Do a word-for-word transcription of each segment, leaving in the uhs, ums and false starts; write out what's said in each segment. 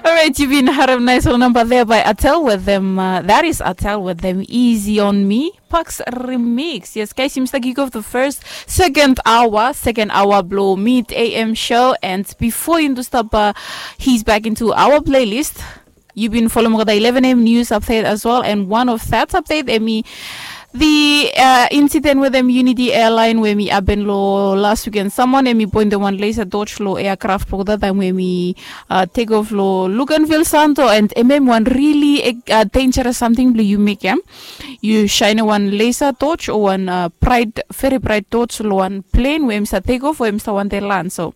Alright, you've been harem nice little number there by Atel with them. Uh, that is Atel with them. Easy on me. Pucks remix. Yes, guys, seems like you go the first, second hour, second hour blow mid A M show. And before you stop, uh, he's back into our playlist. You've been following the eleven A M news update as well. And one of that update, Emmy, the uh, incident with them Unity Airline where me happen lo last weekend. Someone Emmy point the one laser dodge lo aircraft for that time where me uh, take off lo Luganville Santo and M M one really uh, dangerous something blue you make him. You shine one laser torch or one uh, bright, very bright torch lo one plane where him sa take off or him sa one day land. So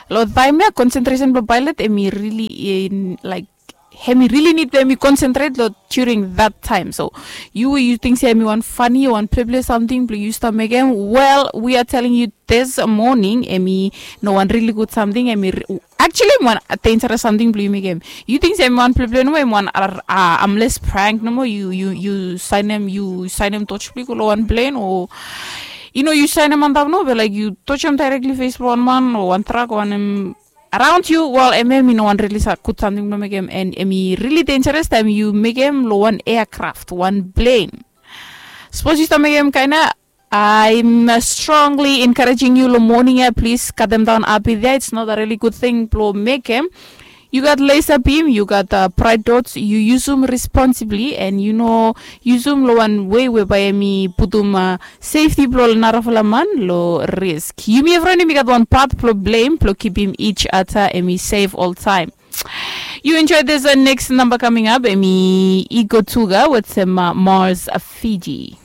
lo time ya concentration blue pilot emi really in like hemi really need emi concentrate lo during that time. So you you think say emi one funny one play play something blue you start make him. Well, we are telling you this morning emi no one really good something emi actually emi one dangerous something blue you make him. You think say emi one play play no emi one uh, uh, I'm less prank no more you you you sign him you sign him touch blue lo one plane or you know you sign him on top no but like you touch him directly face one man or one truck one him around you. Well emi emi no one really sa good something blue make him and emi really dangerous time you make him lo one aircraft one plane. Suppose you start make him kinda I'm uh, strongly encouraging you lo morning ya please cut them down api there. It's not a really good thing blo make him. You got laser beam, you got uh, bright dots, you use them responsibly and you know use them lo one way whereby emi putum uh, safety blo narafala man lo risk. You me friend emi got one part blo blame blo keep him each other emi safe all time. You enjoy this uh, next number coming up emi Ego Tuga with some uh, Mars uh, Fiji.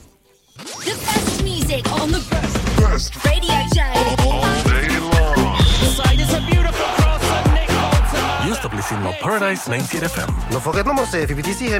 The best music on the best radio show. All day long. Side is a beautiful cross and Nick Bolton. Yo stap listening lo Paradise ninety-eight F M. No forget no more say F B T C hem